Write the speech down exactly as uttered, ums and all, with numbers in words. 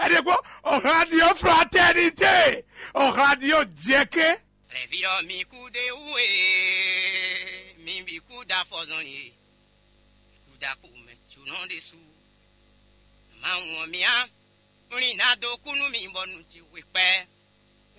Ɛ ɖe kpɔ́n, o radio fraternité, o radio jɛkɛ. Lɛvírɔ mi kú de wú e, mi bǐ kú da fɔzɔn e, kú da kú mɛ tsunɔ ɖésú. Mawu ɔ́ mía, wlin ná dó kú nú mi bɔ nu ce hwe kpɛ.